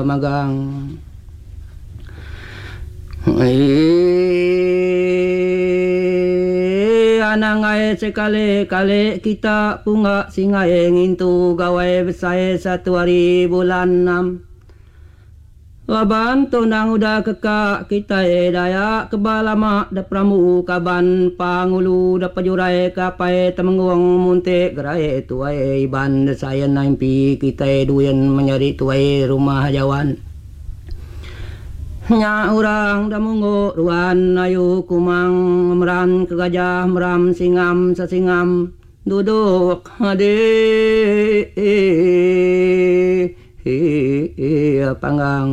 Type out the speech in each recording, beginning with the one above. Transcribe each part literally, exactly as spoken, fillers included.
Magang. Anang ai sekali-kali kita punga singai ngintu gawai besai satu hari bulan enam. Laban tu endang udah keka kitai Dayak keba lama da perambu kaban pangulu da pejurai ke apai Temenggung Muntik Gerai Tuai Iban da Sain Impi kitai Duin menyadi tuai rumah Jawan. Nya orang da munggu ruan ayu kumang meran ke gajah meram singam sesingam duduk di panggang.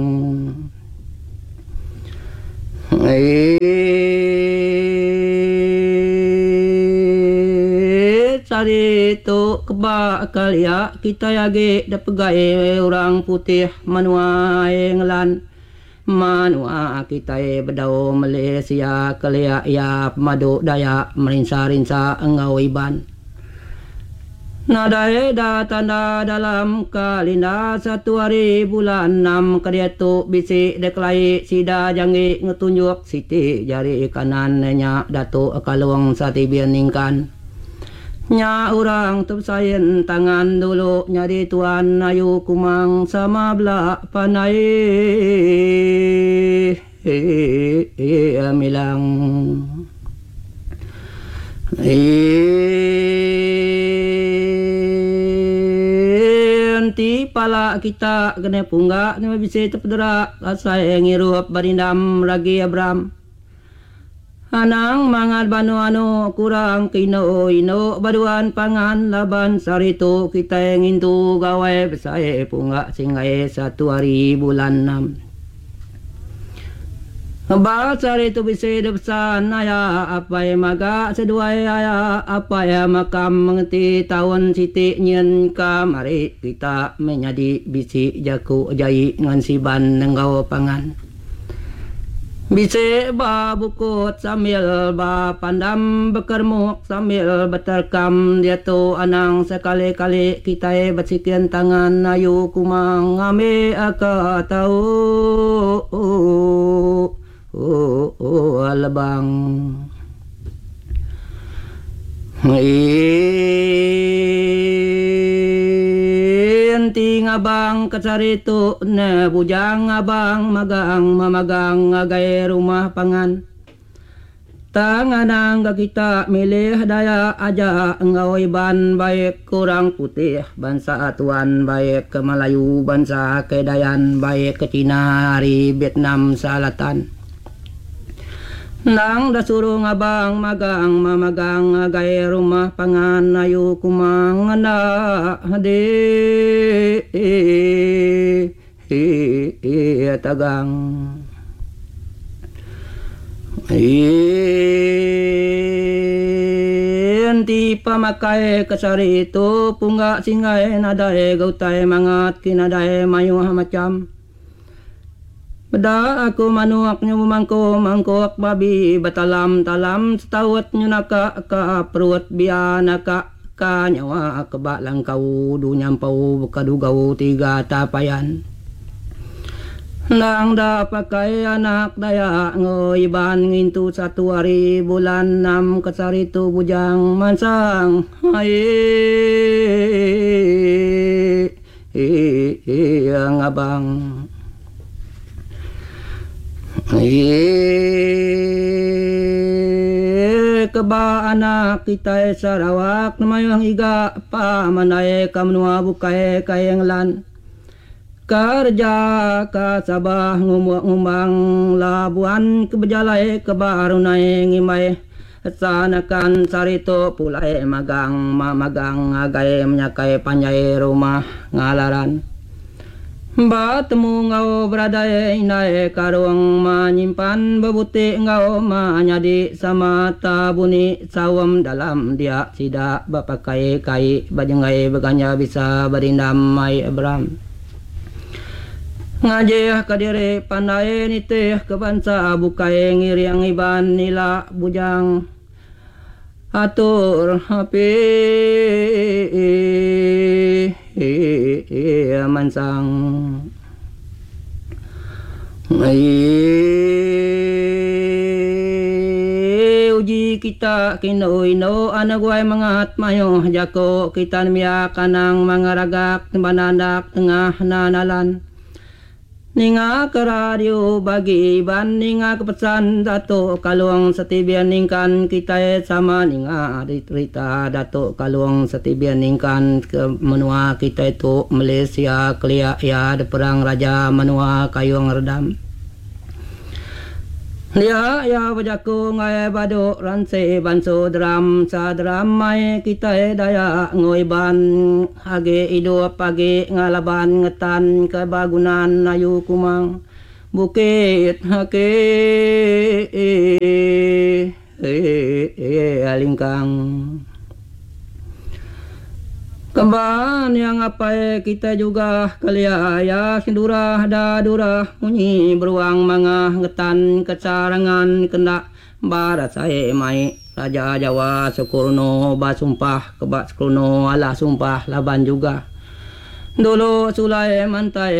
Sehari tu keba kelia kitai agi da pegai orang putih menua England. Menua kitai bedau Malaysia kelia iya pemadu Dayak merinsa-rinsa enggau Iban. Nadai da tanda dalam kalinda satu hari bulan enam ke diatu bisi dikelai sida janggi ngetunjuk siti jari kanan nya Datuk Kalong Satibin Ningkan. Nya orang tu besain tangan dulu nyadi tuan ayu kumang sama bela pandai milang. Enti pala kita kena pungga nyema bisi tepedera asai ngirup berindam ragi Abram. Anang mangat banu anu kurang ke indu indu baduan pangan laban sehari tu kitai ngintu gawai besai pungga singgai satu hari bulan enam. Ba sehari tu bisi deh pesan aya apai maga seduai aya apai makam mengeti taun siti nyin ka mari kita menyadi bisi jaku jai ngan siban enggau pangan. Bisi ba bukut sambil ba pandam bekeremuk sambil beterkam diatu anang sekali-kali kitai besikin tangan ayu kumang ngambi ka tau lebang. Enti ngabang ke sehari tu ne bujang ngabang magang memagang ngagai rumah pangan. Tang anang ga kita milih Dayak aja enggau Iban baik ke orang putih bansa tuan baik ke Melayu bansa Kedayan baik ke Cina ari Vietnam Selatan. Endang da suruh ngabang magang memagang ngagai rumah pangan ayu kumang enda di tagang. Enti pemakai ke sehari tu pungga singgai nadai ga utai mangat ki nadai mayuh macham. Peda aku manuk nyu bemangku mangkuk babi betalam talam setaut nyu naka ka perut bia naka ka nyawa ke ba langkau du nyampau beka dugau tiga tapayan. Endang da pakai anak Dayak enggau Iban ngintu satu hari bulan enam ke sehari tu bujang mansang ai ngabang. Keba anak kitai Sarawak mayuh ngiga pa mandai ka menua bukai ka England. Kereja ka Sabah ngumbuk ngumbang Labuan ke bejalai ke Barunai ngimbai Sanakan sehari tu pulai magang magang ngagai menyakai panjai rumah ngalaran. Ba temu enggau beradai indai karung ma nyimpan bebuti enggau ma nyadi sama ta buni saum dalam dia sida bepakai kai bejenggai beganja bisa berindam mai Abram. Ngajih ka diri pandai nitih ke bansa bukai ngiring Iban ila bujang. Atur api mansang. Eii uji kita kinu indu anak guai mengat mayuh jako kita nembiak anang mangaragak banandak tengah nalan. Ninga ke radio bagi Iban ninga ke pesan Datuk Kalong Setibian Ningkan kitai sama ninga rita Datuk Kalong Setibian Ningkan ke menua kitai tu Malaysia kelia iya diperang raja menua Kayung Redam. Dia iya bejaku ngagai badu ransi bansu deram sa deram mai kitai Dayak enggau Iban agi idup agi ngalaban ngetan ke bagunan ayu kumang bukit ake lingkang. Kemban iya ngapai kitai juga kelia iya sendurah da durah munyi beruang mangah ngetan ke sarangan kenda barasai mai Raja Jawa Sukurno basumpah ke ba Sukurno alah sumpah laban juga dulu sulai mantai.